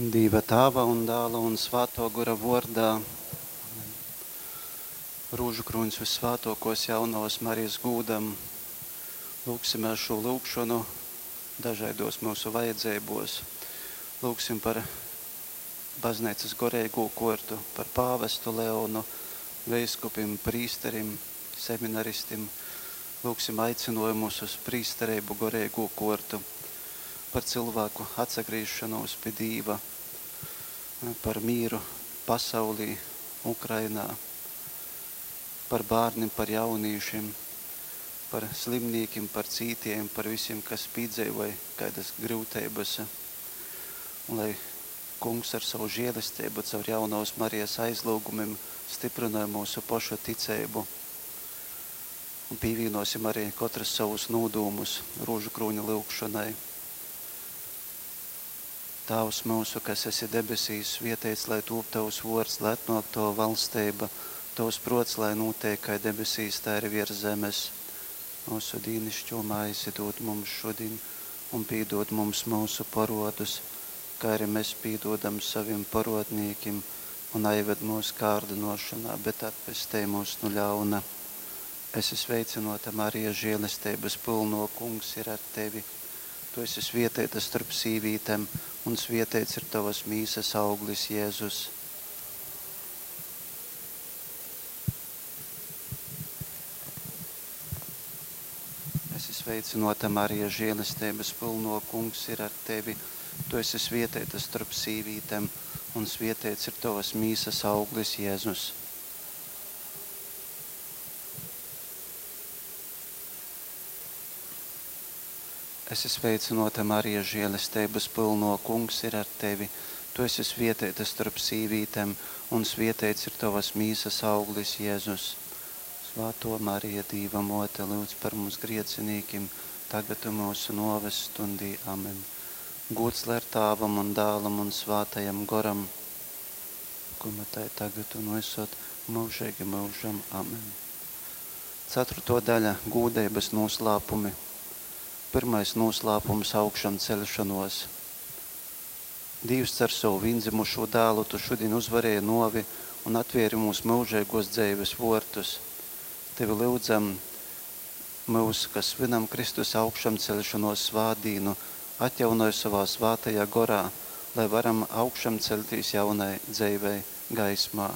Dīva Tāva un Dāla un Svātō Gora vōrdā. Amen. Rūžukrūņs vyssvātōkōs Jaunovas Marijas gūdam. Lūgsimēs šo lūgšonu dažaidos mūsu vajadzeibos. Lūgsim par bazneicas goreigū kortu, par pāvestu Leonu, veiskupim, prīsterim, seminaristim. Lūgsim aicinājumus uz prīstereibu goreigū kortu, par cilvēku atsagriešanos pie Dīva, par mīru pasaulī, Ukrainā, par bērniem, par jaunīšiem, par slimnīkiem, par cītiem, par visiem, kas piedzīvoja kādas grūtības. Un lai Kungs ar savu žēlistību caur jaunās Marijas aizlūgumiem stiprināja mūsu pašu ticību. Un pievienosim arī katrs savus nūdūmus rožu krūņa lūgšanai. Tēvs mūsu, kas esi debesīs, svietēts, lai tūp tavs vārds, lai atnāk tava valstība, tavs prots, lai notiek kā debesīs, tā arī virs zemes. Mūsu dīnišķo maizi dod mums šodien, un piedod mums mūsu parodus, kā arī mēs piedodam saviem parodniekiem, un aived mūsu kārdinošanā, bet atpestī mūs no ļauna. Es esmu sveicināta Marija, žēlestības pilno kungs ir ar tevi. Tu esi svietēta starp sīvītēm, un svietēts ir tavas mīsas auglis, Jēzus. Esi sveicināta Marija, žēlestības pilno kungs ir ar tevi. Tu esi svietēta starp sīvītēm, un svietēts ir tavas mīsas auglis, Jēzus. Esi sveicināta Marija, žēlestības pilno kungs ir ar tevi. Tu esi svietēta starp sīvītēm, un svietēts ir tavas mīsas auglis, Jēzus. Svāto Marija, Dīva mote, lūdz par mums griecinīkim, tagad un mūsu noves stundī. Amen. Gods lai ir Tāvam un Dālam un Svātajam Goram, kuma tai tagad un visot mūžīgi mūžam. Amen. Ceturto daļa – gūdeibas noslēpumi. Pirmais noslēpums augšām celšanos. Dievs cer savu viendzimušo dēlu, tu šodien uzvarēji novi un atvēri mūsu mūžīgos dzīves vortus. Tevi lūdzam, mūs, kas svinam Kristus augšām celšanos svātdīnu, atjaunoj savā svātajā gorā, lai varam augšām celtīs jaunai dzīvei gaismā.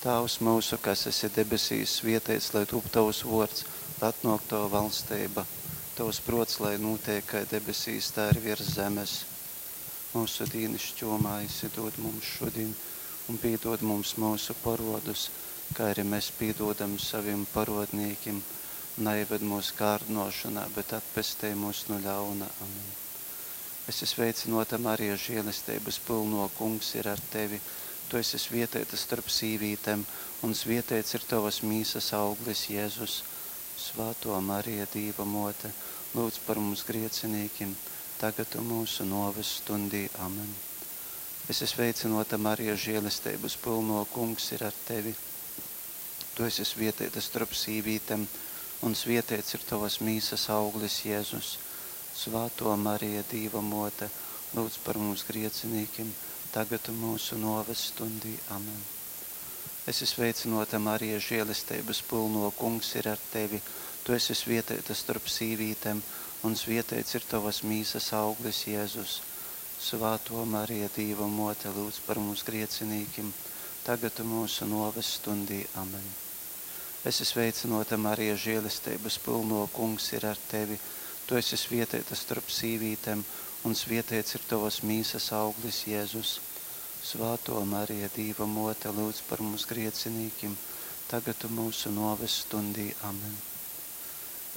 Tēvs mūsu, kas esi debesīs, svietēts, lai tūp tavs vārds, lai atnāk tava valstība, tavs prots, lai notiek kā debesīs, tā arī virs zemes. Mūsu dīnišķo maizi dod mums šodien, un piedod mums mūsu parodus, kā arī mēs piedodam saviem parodnīkiem. Neieved mūsu kārdinošanā, bet atpestī mūs no ļauna. Amen. Es esmu sveicināta Marija, žēlestības pilno kungs ir ar tevi. Tu esi svietēta starp sīvītēm, un svietēts ir tavas mīsas auglis, Jēzus. Svāto Marija, Dīva mote, lūdz par mums griecinīkim, tagad un mūsu noves stundī. Amen. Es esmu sveicināta Marija, žēlestības pilno kungs ir ar tevi. Tu esi svietēta starp sīvītēm, un svietēts ir tavas mīsas auglis, Jēzus. Svāto Marija, Dīva mote, lūdz par mums griecinīkim, tagad un mūsu noves stundī. Amen. Es esmu sveicināta Marija, žēlestības pilno kungs ir ar tevi. Tu esi svietēta starp sīvītēm, un svietēts ir tavas mīsas auglis, Jēzus. Svāto Marija, Dīva mote, lūdz par mums griecinīkim, tagad un mūsu noves stundī. Amen. Es esmu sveicināta Marija, žēlestības pilno kungs ir ar tevi. Tu esi svietēta starp sīvītēm, un svietēts ir tavas mīsas auglis, Jēzus. Svāto Marija, Dīva mote, lūdz par mums griecinīkim, tagad un mūsu noves stundī. Amen.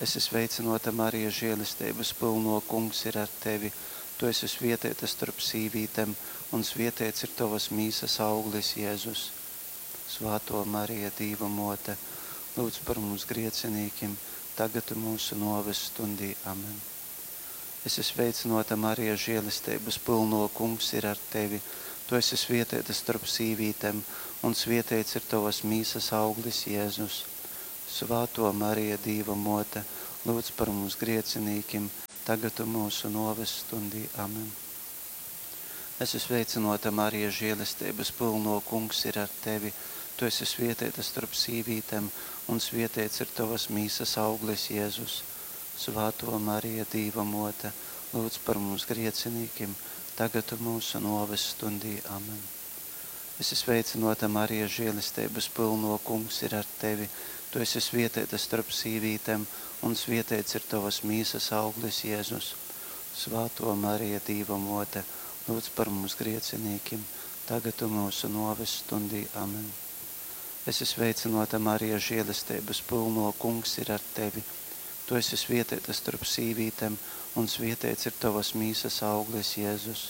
Es esmu sveicināta Marija, žēlestības pilno kungs ir ar tevi. Tu esi svietēta starp sīvītēm, un svietēts ir tavas mīsas auglis, Jēzus. Svāto Marija, Dīva mote, lūdz par mums griecinīkim, tagad un mūsu noves stundī. Amen. Es esmu sveicināta Marija, žēlestības pilno kungs ir ar tevi. Tu esi svietēta starp sīvītēm, un svietēts ir tavas mīsas auglis, Jēzus. Svāto Marija, Dīva mote, lūdz par mums griecinīkim, tagad un mūsu noves stundī. Amen. Esi sveicynōta, Marija, žēlesteibas pylnō, Kungs ir ar tevi. Tu esi svietēta storp sīvītem, un svietēts ir tovas mīsas auglis, Jēzus. Svātō Marija, Dīva mōte, lūdz par mums griecinīkim, tagad un mūsu nōves stundī. Amen. Esi sveicynōta, Marija, žēlesteibas pylnō, Kungs ir ar tevi. Tu esi svietēta storp sīvītem, un svietēts ir tovas mīsas auglis, Jēzus. Svātō Marija, Dīva mōte, lūdz par mums griecinīkim, tagad un mūsu nōves stundī. Amen. Esi sveicynōta, Marija, žēlesteibas pylnō, Kungs ir ar tevi. Tu esi svietēta storp sīvītem, un svietēts ir tovas mīsas auglis, Jēzus.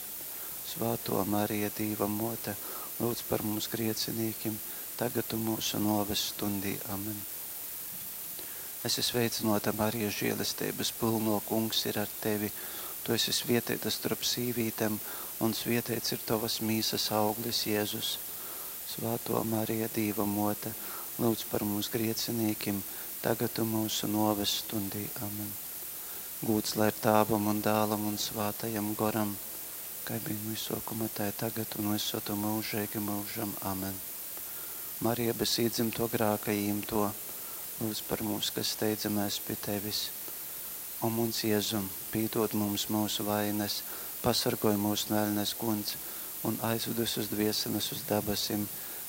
Svātō Marija, Dīva mōte, lūdz par mums griecinīkim, tagad un mūsu nōves stundī. Amen. Esi sveicynōta, Marija, žēlesteibas pylnō, Kungs ir ar tevi. Tu esi svietēta storp sīvītem, un svietēts ir tovas mīsas auglis, Jēzus. Svātō Marija, Dīva mōte, lūdz par mums griecinīkim, tagad un mūsu nōves stundī. Amen. Gūds lai ir Tāvam un Dālam un Svātajam Goram, kai bija no sākuma, tā ir tagad un visur mūžīgi mūžam. Amen. Marija bez iedzimto grāka īmto, lūdz par mums, kas steidzamies pie tevis. O muns Jēzum, pīdod mums mūsu vainas, pasargoj mūs no eļnes guns un aizved visus dvieseles uz dabasim,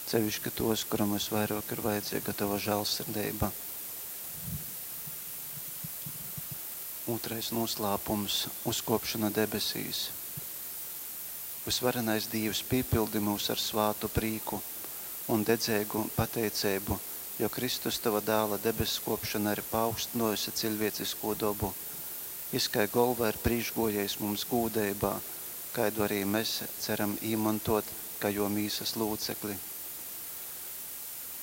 sevišķi tos, kuram visvairāk ir vajadzīga tava žēlsirdība. Otrais noslēpums – uzkopšana debesīs. Visvarenais Dievs piepildi mūs ar svātu prīku un dedzīgu pateicību, jo Kristus tava dēla debeskopšana ir paaugstinājusi cilvēcisko dobu. Jis kai golva ir prīškgojējs mums gūdeibā, kaidu arī mēs ceram īmantot, kā jo mīsas lūcekli.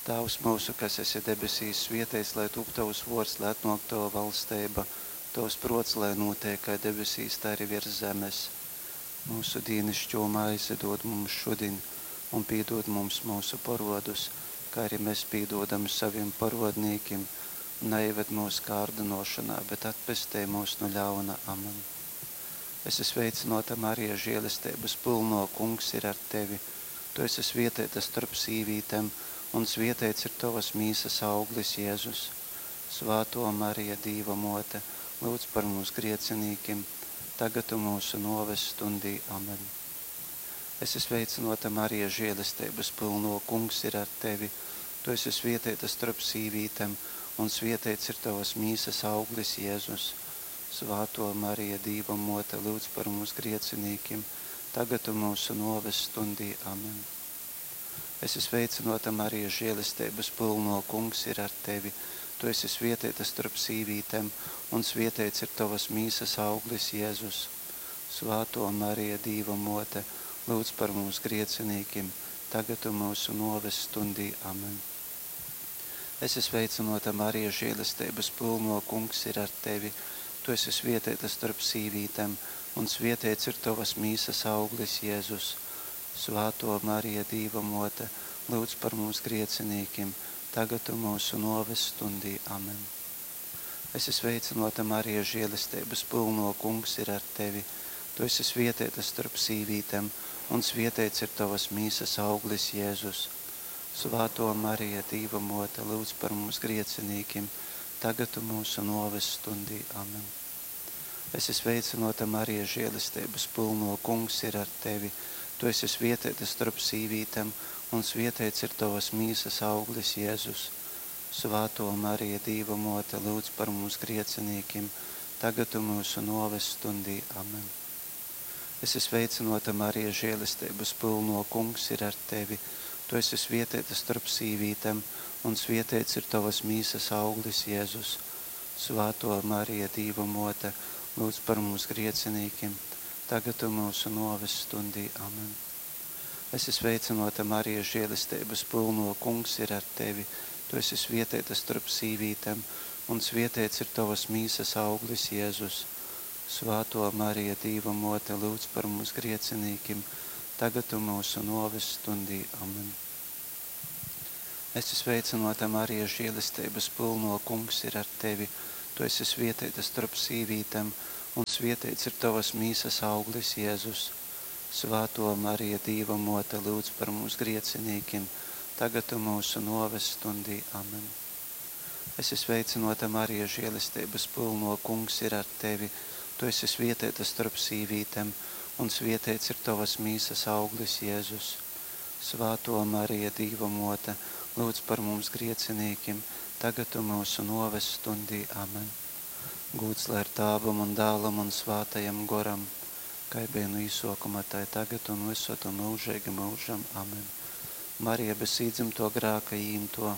Tēvs mūsu, kas esi debesīs, svietēts, lai tūp tavs vārds, lai atnāk tava valstība, tavs prots, lai notiek kā debesīs, tā arī virs zemes. Mūsu dīnišķo maizi dod mums šodien, un piedod mums mūsu parodus, kā arī mēs piedodam saviem parodnīkiem. Neieved mūsu kārdinošanā, bet atpestī mūs no ļauna. Amen. Esi sveicināta, Marija, žēlestības pilno, Kungs ir ar tevi. Tu esi svietēta starp sīvītēm, un svietēts ir tavas mīsas auglis, Jēzus. Svāto Marija, Dīva mote, lūdz par mums griecinīkim, tagad un mūsu noves stundī. Amen. Esi sveicināta, Marija, žēlestības pilno, Kungs ir ar tevi. Tu esi svietēta starp sīvītēm, un svietēts ir tavas mīsas auglis, Jēzus. Svāto Marija, Dīva mote, lūdz par mums griecinīkim, tagad un mūsu noves stundī. Amen. Esi sveicināta, Marija, žēlestības pilno, Kungs ir ar tevi. Tu esi svietēta starp sīvītēm, un svietēts ir tavas mīsas auglis, Jēzus. Svāto Marija, Dīva mote, lūdz par mums griecinīkim, tagad un mūsu noves stundī. Amen. Esi sveicināta, Marija, žēlestības pilno, Kungs ir ar tevi. Tu esi svietēta starp sīvītēm, un svietēts ir tavas mīsas auglis, Jēzus. Svāto Marija, Dīva mote, lūdz par mums griecinīkim, tagad un mūsu noves stundī. Amen. Esi sveicināta, Marija, žēlestības pilno, Kungs ir ar tevi. Tu esi svietēta starp sīvītēm, un svietēts ir tavas mīsas auglis, Jēzus. Svāto Marija, Dīva mote, lūdz par mums griecinīkim, tagad un mūsu noves stundī. Amen. Esi sveicināta, Marija, žēlestības pilno, Kungs ir ar tevi. Tu esi svietēta starp sīvītēm, un svietēts ir tavas mīsas auglis, Jēzus. Svāto Marija, Dīva mote, lūdz par mums griecinīkim, tagad un mūsu noves stundī. Amen. Esi sveicināta, Marija, žēlestības pilno, Kungs ir ar tevi. Tu esi svietēta starp sīvītēm, un svietēts ir tavas mīsas auglis, Jēzus. Svāto Marija, Dīva mote, lūdz par mums griecinīkim, tagad un mūsu noves stundī. Amen. Esi sveicināta, Marija, žēlestības pilno, Kungs ir ar tevi. Tu esi svietēta starp sīvītēm, un svietēts ir tavas mīsas auglis, Jēzus. Svāto Marija, Dīva mote, lūdz par mums griecinīkim, tagad un mūsu noves stundī. Amen. Esi sveicināta, Marija, žēlestības pilno, Kungs ir ar tevi. Tu esi svietēta starp sīvītēm, un svietēts ir tavas mīsas auglis, Jēzus. Svātō Marija, Dīva Mōte, lyudz par mums griecinīkim, tagad un myusu nōves stundī. Amen. Esi sveicynōta, Marija, žēlesteibas pylnō, Kungs ir ar tevi. Tu esi svietēta storp sīvītem, un svieteits ir tovas mīsas auglis, Jēzus. Svātō Marija, Dīva Mōte, lyudz par mums griecinīkim, tagad un myusu nōves stundī. Amen. Gūds lai ir Tāvam un Dālam un Svātajam Goram, kai bija nu īsōkuma, tai tagad un vysod un myužeigi myužam. Amen. Marija bez īdzymto grāka īimto,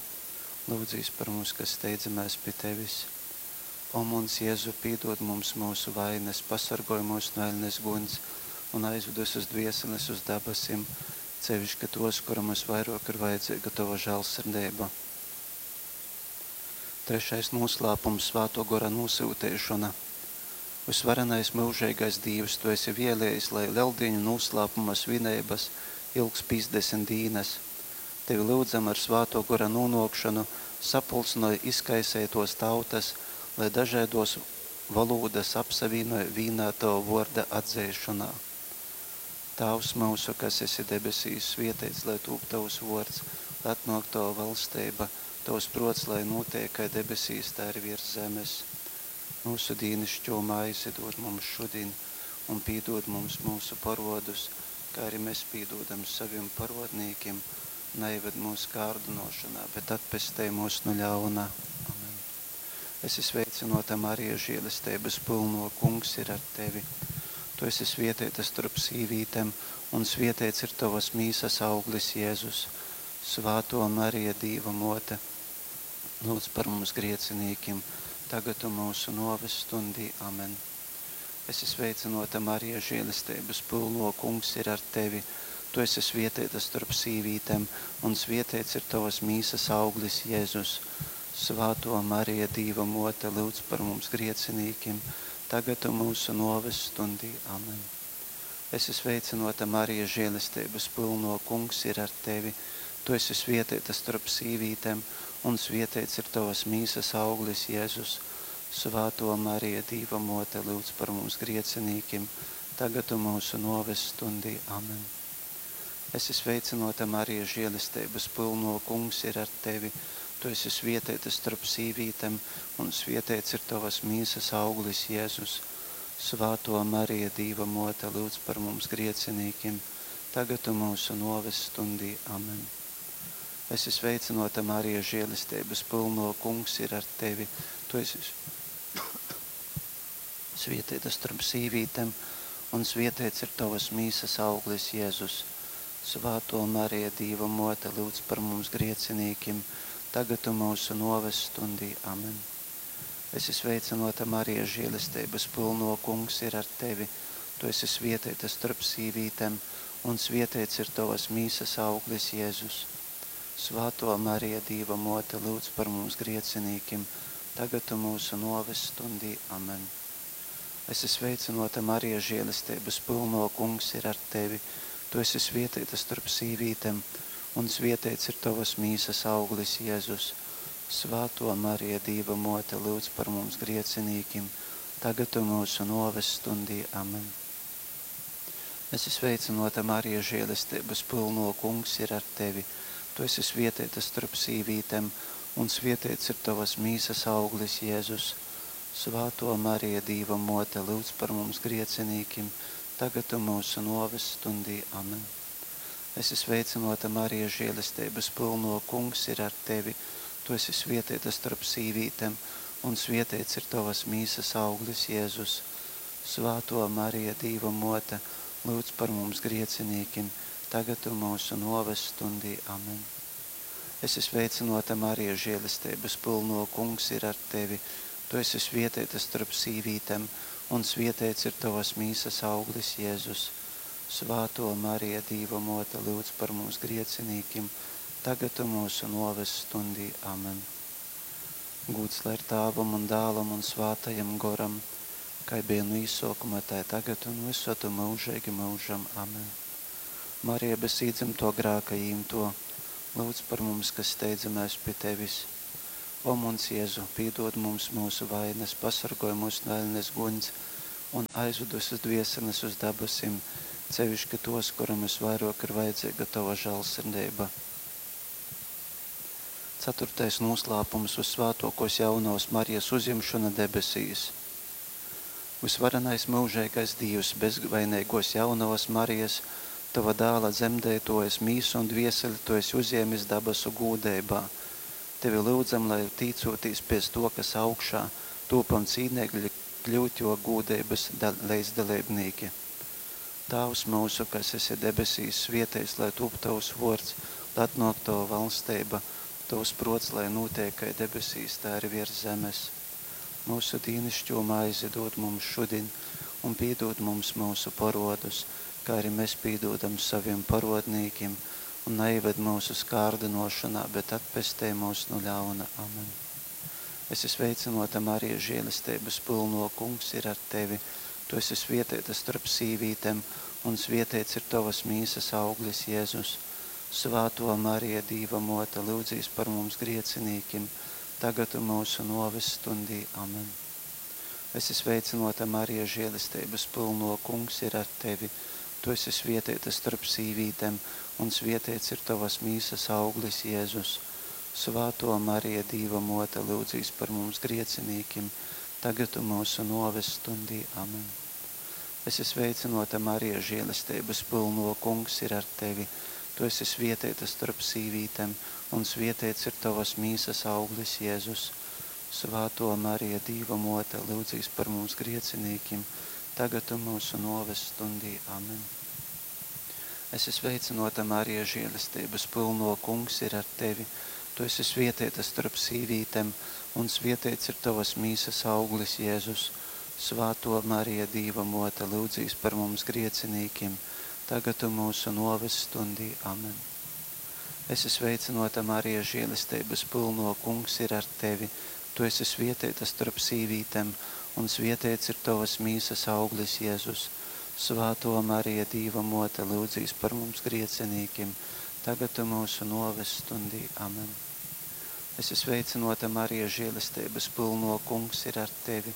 lūdzīs par mums, kas steidzamēs pi tevis. O muns Jezu, pīdod mums mūsu vainas, pasargoj mūs no eļnes guņs un aizved visus dvieseles uz dabasim, sevišķi tos, kuram visvairāk ir vajadzīga tava žēlsirdība. Trešais noslēpums – Svāto Gora nosūtīšana. Visvarenais mūžīgais Dievs, Tu esi vēlējis, lai Lieldienu noslēpuma svinības ilgs 50 dienas. Tevi lūdzam ar Svāto Gora nonākšanu, sapulcināj izkaisētos tautas, lai dažādos valodas apsavienoja vīnā Tava vārda atzēšanā. Tēvs mūsu, kas esi debesīs, svietēts, lai tūp Tavs vārds, lai atnāk Tava valstība, Tavs prots, lai notiek kā debesīs, tā arī virs zemes. Mūsu dīnišķo maizi dod mums šodien, un pīdod mums mūsu parodus, kā arī mēs pīdodam saviem parodnīkiem. Neived mūsu kārdinošanā, bet atpestej mūs no ļauna. Amen. Esi sveicinota Marija, žēlestības pilno, Kungs ir ar tevi. Tu esi svietēta starp sīvītēm, un svietēts ir tavas mīsas auglis, Jēzus. Svāto Marija, Dīva mote, lūdz par mums griecinīkim, tagad un mūsu noves stundī. Amen. Esi sveicinota Marija, žēlestības pilno, Kungs ir ar tevi. Tu esi svietēta starp sīvītēm, un svietēts ir tavas mīsas auglis, Jēzus. Svāto Marija, Dīva mote, lūdz par mums griecinīkim, tagad un mūsu noves stundī. Amen. Esi sveicinota Marija, žēlestības pilno, Kungs ir ar tevi. Tu esi svietēta starp sīvītēm, un svietēts ir tavas mīsas auglis, Jēzus. Svāto Marija, Dīva mote, lūdz par mums griecinīkim, tagad un mūsu noves stundī. Amen. Esi sveicinota Marija, žēlestības pilno, Kungs ir ar tevi. Tu esi svietēta starp sīvītēm, un svietēts ir tavas mīsas auglis, Jēzus. Svāto Marija, Dīva mote, lūdz par mums griecinīkim, tagad un mūsu noves stundī. Amen. Esi sveicinota Marija, žēlestības pilno, Kungs ir ar tevi. Tu esi svietēta starp sīvītēm, un svietēts ir tavas mīsas auglis, Jēzus. Svāto Marija, Dīva mote, lūdz par mums griecinīkim, tagad un mūsu noves stundī. Amen. Esi sveicinota Marija, žēlestības pilno, Kungs ir ar tevi. Tu esi svietēta starp sīvītēm, un svietēts ir tavas mīsas auglis, Jēzus. Svāto Marija, Dīva mote, lūdz par mums griecinīkim, tagad un mūsu noves stundī. Amen. Esi sveicinota Marija, žēlestības pilno, Kungs ir ar tevi. Tu esi svietēta starp sīvītēm, un svietēts ir tavas mīsas auglis, Jēzus. Svāto Marija, Dīva mote, lūdz par mums griecinīkim, tagad un mūsu noves stundī. Amen. Esi sveicinota Marija, žēlestības pilno, Kungs ir ar tevi. Tu esi svietēta starp sīvītēm, un svietēts ir tavas mīsas auglis, Jēzus. Svāto Marija, Dīva mote, lūdz par mums griecinīkim, tagad un mūsu noves stundī. Amen. Esi sveicinota Marija, žēlestības pilno, Kungs ir ar tevi. Tu esi svietēta starp sīvītēm, un svietēts ir tavas mīsas auglis, Jēzus. Svāto Marija, Dīva mote, lūdz par mums griecinīkim, tagad un mūsu noves stundī. Amen. Esi sveicinota Marija, žēlestības pilno, Kungs ir ar tevi. Tu esi svietēta starp sīvītēm, un svietēts ir tavas mīsas auglis, Jēzus. Svāto Marija, Dīva mote, lūdz par mums griecinīkim, tagad un mūsu noves stundī. Amen. Gūds lai ir Tēvam un Dēlam un Svātajam Goram, kā bija no īsākuma, tā tagad un visod un mūžīgi mūžam. Amen. Marija bez īdzimto grāka īmto, lūdz par mums, kas steidzamies pie tevis. O muns Jēzu, pīdod mums mūsu vainas, pasargoj mūs no eļnes guņs un aizved visas dvieseles uz dabasim, seviški tos, kuram visvairāk ir vajadzīga Tava žēlsirdība. Ceturtais noslēpums – Vissvētākos jaunavas Marijas uzjemšana debesīs. Visvarenais mūžīgais Dievs, bezvainīgos jaunavas Marijas, Tava dēla dzemdētojas mīsu un dvieseli Tu esi uzjēmis dabasu gūdeibā. Tevi lūdzam, lai tīcoties pēc to, kas augšā, tūpam cīnīgi kļūt jo gūdeibas līdzdalībnieki. Tēvs mūsu, kas esi debesīs, svietēs, lai tūp tavs vārds, lai atnāk tava valstība, tavs prots, lai notiek kā debesīs, tā arī virs zemes. Mūsu dīnišķo maizi dod mums šodien, un piedod mums mūsu parodus, kā arī mēs piedodam saviem parodnīkiem, un neieved mūsu skārdinošanā, bet atpestē mūs no ļauna. Amen. Esi sveicināta, Marija, žēlestības pilno, kungs ir ar tevi. Tu esi svietēta starp sīvītēm, un svietēts ir tavas mīsas auglis, Jēzus. Svēto Marija, Dīva mote, lūdzīs par mums griecinīkim, tagad un mūsu noves stundī. Amen. Esi sveicināta, Marija, žēlestības pilno, kungs ir ar tevi. Tu esi svietēta starp sīvītēm, un svietēts ir tavas mīsas auglis, Jēzus. Svēto Marija, Dīva mote, lūdzīs par mums griecinīkim, tagad un mūsu noves stundī. Amen. Esi sveicināta, Marija, žēlestības pilno, kungs ir ar tevi. Tu esi svietēta starp sīvītēm, un svietēts ir tavas mīsas auglis, Jēzus. Svēto Marija, Dīva mote, lūdzīs par mums griecinīkim, tagad un mūsu noves stundī. Amen. Esi sveicināta, Marija, žēlestības pilno, kungs ir ar tevi. Tu esi svietēta starp sīvītēm, un svietēts ir tavas mīsas auglis, Jēzus. Svēto Marija, Dīva mote, lūdzīs par mums griecinīkim, tagad un mūsu noves stundī. Amen. Esi sveicināta, Marija, žēlestības pilno, kungs ir ar tevi. Tu esi svietēta starp sīvītēm, un svietēts ir tavas mīsas auglis, Jēzus. Svēto Marija, Dīva mote, lūdzīs par mums griecinīkim, tagad un mūsu noves stundī. Amen. Esi sveicināta, Marija, žēlestības pilno, kungs ir ar tevi.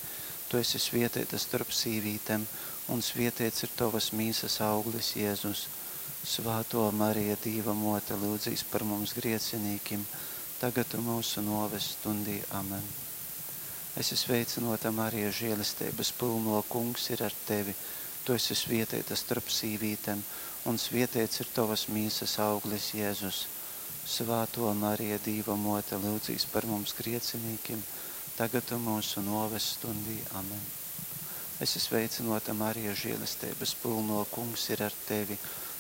Tu esi svietēta starp sīvītēm, un svietēts ir tavas mīsas auglis, Jēzus. Svēto Marija, Dīva mote, lūdzīs par mums griecinīkim, tagad un mūsu noves stundī. Amen. Esi sveicināta, Marija, žēlestības pilno, kungs ir ar tevi. Tu esi svietēta starp sīvītēm, un svietēts ir tavas mīsas auglis, Jēzus. Svēto Marija, Dīva mote, lūdzīs par mums griecinīkim, tagad un mūsu noves stundī. Amen. Esi sveicināta, Marija, žēlestības pilno, kungs ir ar tevi.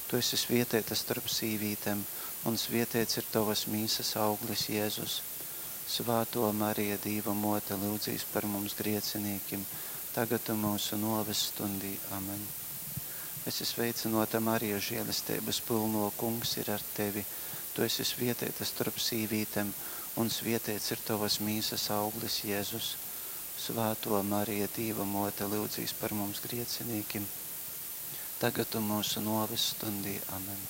Tu esi svietēta starp sīvītēm, un svietēts ir tavas mīsas auglis, Jēzus. Svēto Marija, Dīva mote, lūdzīs par mums griecinīkim, tagad un mūsu noves stundī. Amen. Esi sveicināta, Marija, žēlestības pilno, kungs ir ar tevi. Tu esi svietēta starp sīvītēm, un svietēts ir tavas mīsas auglis, Jēzus. Svēto Marija, Dīva mote, lūdzīs par mums griecinīkim, tagad un mūsu noves stundī. Amen.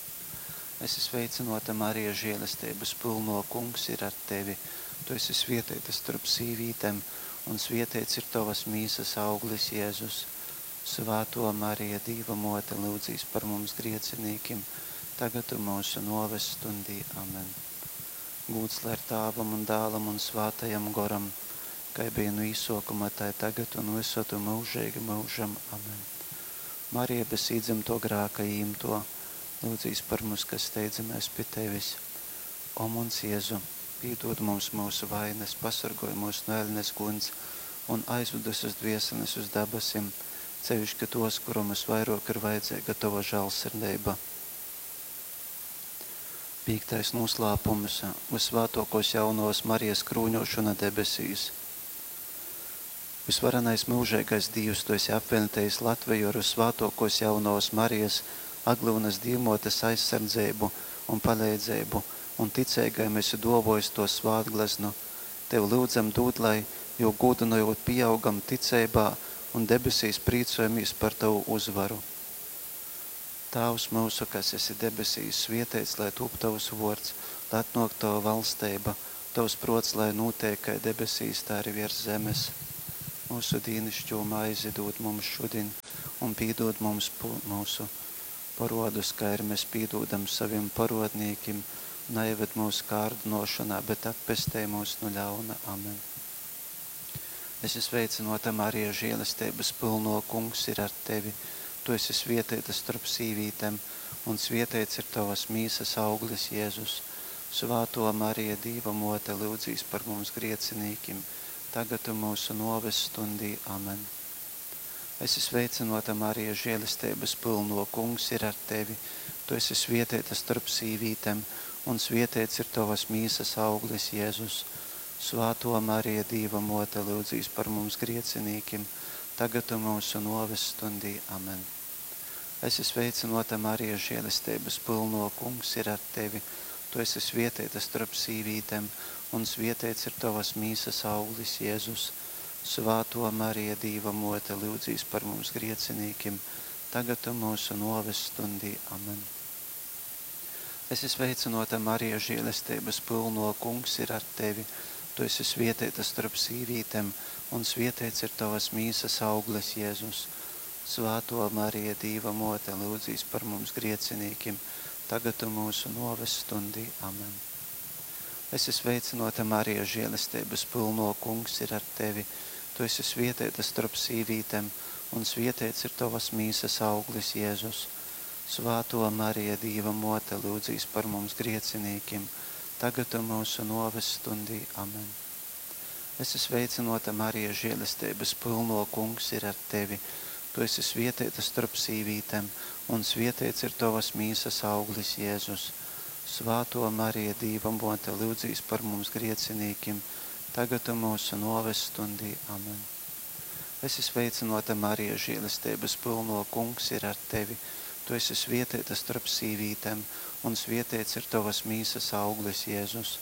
Esi sveicināta, Marija, žēlestības pilno, kungs ir ar tevi. Tu esi svietēta starp sīvītēm, un svietēts ir tavas mīsas auglis, Jēzus. Svēto Marija, Dīva mote, lūdzīs par mums griecinīkim, tagad un mūsu noves stundī. Amen. Gūds lai ir Tēvam un Dēlam un Svētajam Goram, kā bija no īsokuma, tā tagad un visur un mūžīgi mūžam. Amen. Marija bez īdzimto grāka īmto, lūdzīs par mums, kas steidzamies pie tevis. O mums Jēzu, piedod mums mūsu vainas, pasargoj mūs no elnes guns un aizved uz dvieseles uz dabasim, sevišķi tos, kuram visvairāk ir vajadzīga tava žēlsirdība. Pīktais noslēpums – Visvētākos jaunavas Marijas krūņošana debesīs. Visvarenais mūžīgais Dievs, Tu esi apvienotējis Latviju ar Visvētākos jaunavas Marijas Aglyunas Dīvmotes aizsardzību un palīdzību, un ticīgajiem esi dovojis to svētgleznu. Tev lūdzam dod, lai, jo gūdinojot pieaugam ticībā un debesīs prīcojamies par Tavu uzvaru. Tēvs mūsu, kas esi debesīs, svietēts, lai tūp Tavs vārds, lai atnāk Tava valstība, Tavs prots, lai notiek kā debesīs, tā arī virs zemes. Mūsu dīnišķo maizi dod mums šodien un piedod mums mūsu Poruodus, kai ari mes pīdūdam sovim poruodnīkim, naieved myusu kārdynōšonā, bet atpestej myus nu ļauna. Amen. Esi sveicynōta, Marija, žēlesteibas pylnō, Kungs ir ar tevi. Tu esi svietēta storp sīvītem, un svieteits ir tovas mīsas auglis, Jezus. Svātō Marija, Dīva mōte, lyudzīs par mums griecinīkim, tagad un myusu nōves stundī. Amen. Esi sveicynōta, Marija, žēlesteibas pylnō, Kungs ir ar tevi. Tu esi svietēta storp sīvītem, un svieteits ir tovas mīsas auglis, Jezus. Svātō Marija, Dīva mōte, lyudzīs par mums griecinīkim, tagad un myusu nōves stundī. Amen. Esi sveicynōta, Marija, žēlesteibas pylnō, Kungs ir ar tevi. Tu esi svietēta storp sīvītem, un svieteits ir tovas mīsas auglis, Jezus. Svātō Marija, Dīva mōte, lyudzīs par mums griecinīkim, tagad un myusu nōves stundī. Amen. Esi sveicynōta, Marija, žēlesteibas pylnō, Kungs ir ar tevi. Tu esi svietēta storp sīvītem, un svieteits ir tovas mīsas auglis, Jezus. Svātō Marija, Dīva mōte, lyudzīs par mums griecinīkim, tagad un myusu nōves stundī. Amen. Esi sveicynōta, Marija, žēlesteibas pylnō, Kungs ir ar tevi. Tu esi svietēta storp sīvītem, un svieteits ir tovas mīsas auglis, Jezus. Svātō Marija, Dīva mōte, lyudzīs par mums griecinīkim, tagad un myusu nōves stundī. Amen. Esi sveicynōta, Marija, žēlesteibas pylnō, Kungs ir ar tevi. Tu esi svietēta storp sīvītem, un svieteits ir tovas mīsas auglis, Jezus. Svātō Marija, Dīva mōte, lyudzīs par mums griecinīkim, tagad un myusu nōves stundī. Amen. Esi sveicynōta, Marija, žēlesteibas pylnō, Kungs ir ar tevi. Tu esi svietēta storp sīvītem, un svieteits ir tovas mīsas auglis, Jezus.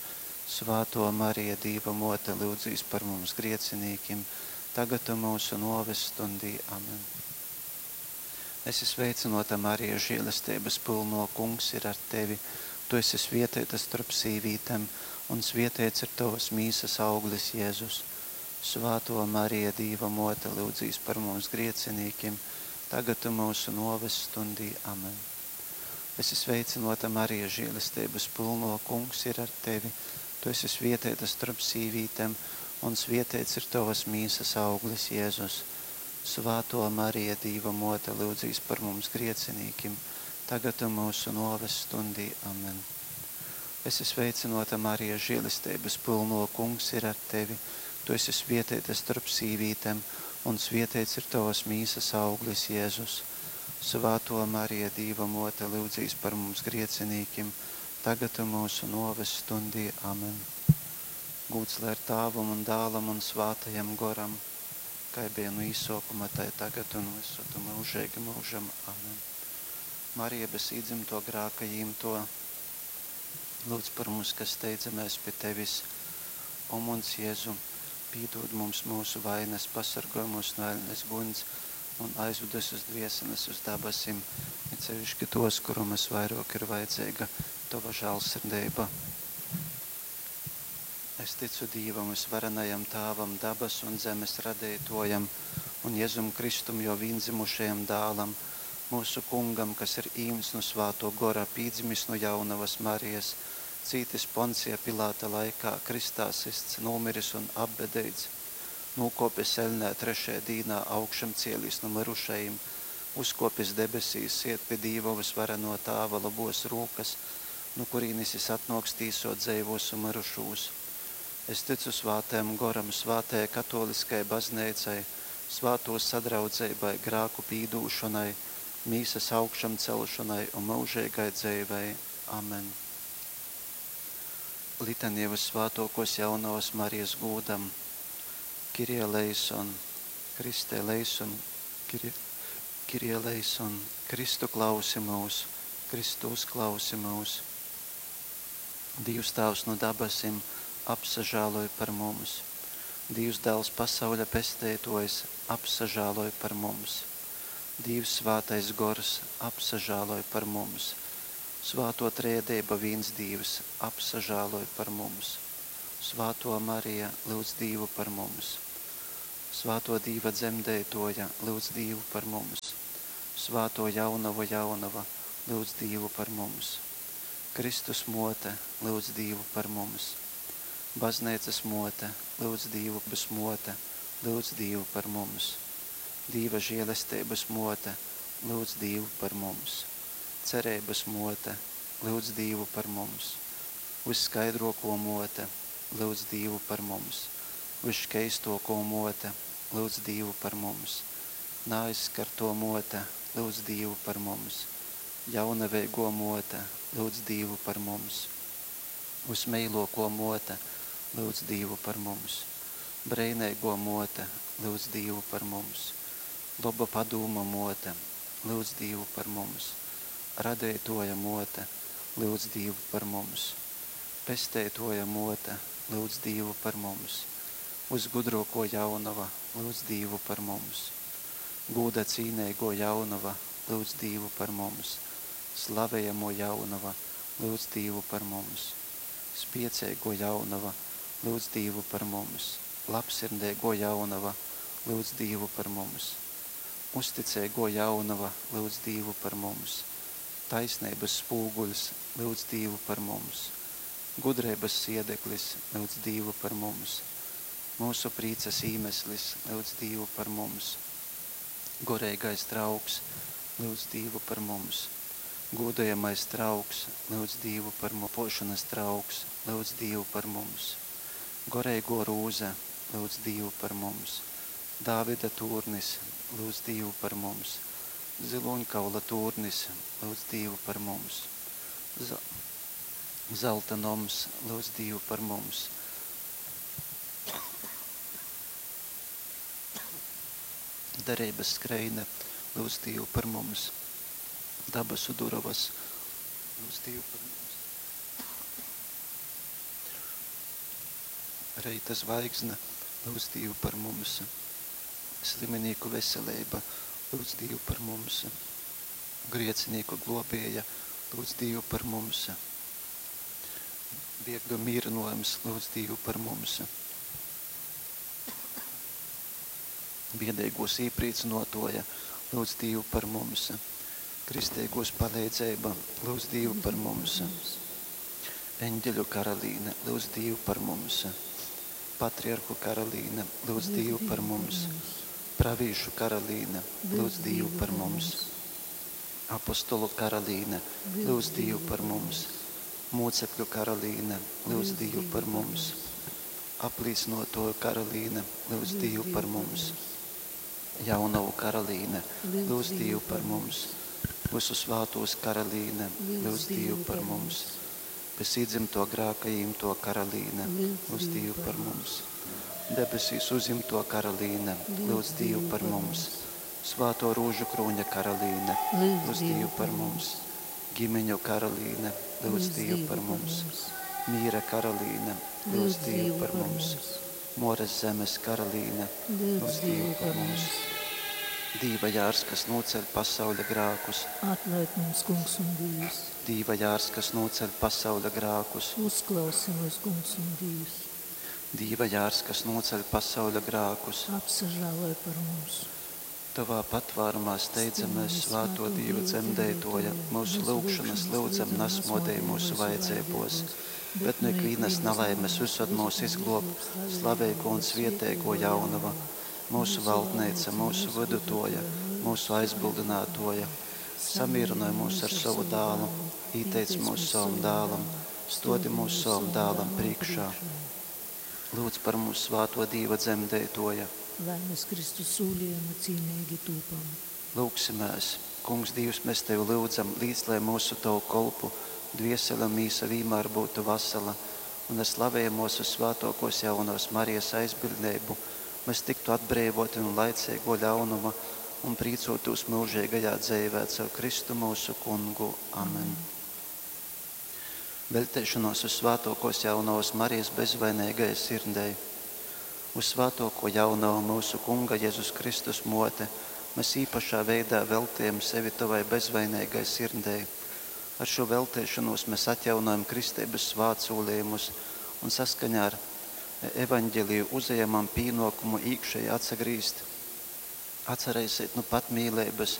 Svātō Marija, Dīva mōte, lyudzīs par mums griecinīkim, tagad un myusu nōves stundī. Amen. Esi sveicynōta, Marija, žēlesteibas pylnō, Kungs ir ar tevi. Tu esi svietēta storp sīvītem, un svieteits ir tovas mīsas auglis, Jezus. Svātō Marija, Dīva mōte, lyudzīs par mums griecinīkim, tagad un myusu nōves stundī. Amen. Esi sveicynōta, Marija, žēlesteibas pylnō, Kungs ir ar tevi. Tu esi svietēta storp sīvītem, un svieteits ir tovas mīsas auglis, Jezus. Svātō Marija, Dīva mōte, lyudzīs par mums griecinīkim, tagad un myusu nōves stundī. Amen. Esi sveicynōta, Marija, žēlesteibas pylnō, Kungs ir ar tevi. Tu esi svietēta storp sīvītem, un svieteits ir tovas mīsas auglis, Jezus. Svātō Marija, Dīva mōte, lyudzīs par mums griecinīkim, tagad un myusu nōves stundī. Amen. Gūds lai ir Tāvam un Dālam un Svātajam Goram, kai bija nu īsōkuma, tai tagad un visur un mūžīgi mūžam. Amen. Marija bez īdzimto grāka jīmto, lūdz par mums, kas steidzamies pie tevis. O muns Jēzu, pīdod mums mūsu vainas, pasargoj mūs no eļnes guņs un aizved uz dvieseles uz dabasim, it sevišķi tos, kurum visvairāk ir vajadzīga tova žēlsirdība. Es ticu Dīvam, visvarenajam Tāvam, dabas un zemes radītojam, un Jēzum Kristum, jo vīndzimušajam dālam, mūsu kungam, kas ir īms no svāto gora, pīdzimis no jaunavas Marijas, cītis Poncija Pilāta laikā, kristā sists, nomiris un apbedīts, nokopis elnē trešajā dīnā, augšam cielīs no mirušajiem, uzkopis debesīs, iet pie Dīva visvareno Tāva labos rūkas, no kurīnes jis atnāks tīsot dzeivos un mirušos. Es ticu svātajam goram, svātajai katoliskai baznīcai, svāto sadraudzībai, grāku pīdūšanai, mīsas augšam celšanai un mūžīgai dzīvei. Amen. Litanija visvētākos jaunavas Marijas gūdam. Kirie eleison, Kriste eleison, Kirie, Kirie eleison, Kristu klausi mūs, Kristu uzklausi mūs. Dievs Tēvs no dabasim, apsažāloj par mums. Dievs Dēls pasauļa pestētojs, apsažāloj par mums. Dievs Svētais Gors, apsažāloj par mums. Svāto Trēdība vīns Dievs, apsažāloj par mums. Svāto Marija, lūdz Dievu par mums. Svāto Dīva dzemdētoja, lūdz Dievu par mums. Svāto jaunava jaunava, lyudz Dīvu par mums. Kristus mōte, lyudz Dīvu par mums. Bazneicas mōte, lyudz Dīvu bas mōte, lyudz Dīvu par mums. Dīva žēlesteibas mōte, lyudz Dīvu par mums. Cereibas mōte, lyudz Dīvu par mums. Vysskaidrōkō mōte, lyudz Dīvu par mums. Vysškeistōkō mōte, lyudz Dīvu par mums. Naaizskartō mōte, lyudz Dīvu par mums. Jaunaveigō mōte, lyudz Dīvu par mums. Vysmeilōkō mōte, lyudz Dīvu par mums. Breineigō mōte, lyudz Dīvu par mums. Loba padūma mōte, lyudz Dīvu par mums. Radeitōja mōte, lyudz Dīvu par mums. Pesteitōja mōte, lyudz Dīvu par mums. Vysgudrōkō jaunova, lyudz Dīvu par mums. Gūda cīneigō jaunova, lyudz Dīvu par mums. Slavejamō jaunova, lyudz Dīvu par mums. Spieceigō jaunova, lyudz Dīvu par mums. Labsirdeigō jaunova, lyudz Dīvu par mums. Uzticeigō jaunova, lyudz Dīvu par mums. Taisneibas spūguļs, lyudz Dīvu par mums. Gudreibas siedeklis, lyudz Dīvu par mums. Mūsu prīcas īmeslis, lyudz Dīvu par mums. Goreigais trauks, lyudz Dīvu par mums. Gūdojamais trauks, lyudz Dīvu par mums. Pošanas trauks, lyudz Dīvu par mums. Goreigō rūze, lyudz Dīvu par mums. Dāvida tūrnis, lyudz Dīvu par mums. Zilūņkaula tūrnis, lyudz Dīvu par mums. Zelta noms, lyudz Dīvu par mums. Dereibas skreine, lyudz Dīvu par mums. Dabasu durovas, lyudz Dīvu par mums. Reita zvaigzne, lyudz Dīvu par mums. Sliminīku veseleiba, lyudz Dīvu par mums. Griecinīku globēja, lyudz Dīvu par mums. Biegļu mīrynojums, lyudz Dīvu par mums. Biedeigūs īprīcynuotuoja, lyudz Dīvu par mums. Kristeigūs paleidzeiba, lyudz Dīvu par mums. Eņģeļu karalīne, lyudz Dīvu par mums. Patriarhu karalīne, lyudz Dīvu par mums. Pravīšu karalīne, lyudz Dīvu par mums. Apostolu karalīne, lyudz Dīvu par mums. Mūcekļu karalīne, lyudz Dīvu par mums. Aplīcynuotuoju karalīne, lyudz Dīvu par mums. Jaunavu karalīne, lyudz Dīvu par mums. Visu svātūs karalīne, lyudz Dīvu par mums. Bez iedzimto grāka īmto karalīne, lyudz Dīvu par mums. Debesīs uzimto karalīne, lyudz Dīvu par mums. Svāto rūžu krūņa karalīne, lyudz Dīvu par mums. Ģimeņu karalīne, lyudz Dīvu par mums. Mīra karalīne, lyudz Dīvu par mums. Mores zemes karalīne, lyudz Dīvu par mums. Dīva jārs, kas nūceļ pasauļa grākus. Atlaid mums, Kungs un Dievs. Dīva jārs, kas nūceļ pasauļa grākus. Uzklausi mūs, Kungs un Dievs. Dīva jārs, kas nūceļ pasauļa grākus. Apsažāloj par mums. Tavā patvārumā steidzamies, svāto Dīva dzemdētoja, mūsu lūgšanas lūdzam nasmodēj mūsu vajadzībos, bet no ikvienas nelaimes visad mūs izglob slaveiko un svietēgo jaunava, mūsu valdneica, mūsu vidutoja, mūsu aizbildinātoja. Samīrinoj mūs ar savu dālu, īteic mūs savam dālam, stodi mūs savam dālam priekšā. Lūdz par mums svāto Dīva dzemdētoja. Lai mēs Kristus sūlījuma cīnīgi tūpam. Lūgsimēs, Kungs Dievs, mēs Tevi lūdzam, līdz lai mūsu Tavu kolpu dviesele un mīsa vienmēr būtu vesela, un ar slavējamos un svētokos jaunās Marijas aizbildnību mēs tiktu atbrīvoti no laicīgo ļaunuma un prīcotos mūžīgajā dzīvē caur Kristu mūsu kungu. Amen. Veltēšanos uz svētokos jaunās Marijas bezvainīgajai sirdei, uz svētoko jauno mūsu kunga Jēzus Kristus mote, mēs īpašā veidā veltījam sevi tavai bezvainīgai sirdei. Ar šo veltēšanos mēs atjaunojam kristības svētsolījumus un saskaņā ar evaņģeliju uzejamam pīnokumu īkšēji atsagrīzt, atcerēsiet nu pat mīlības.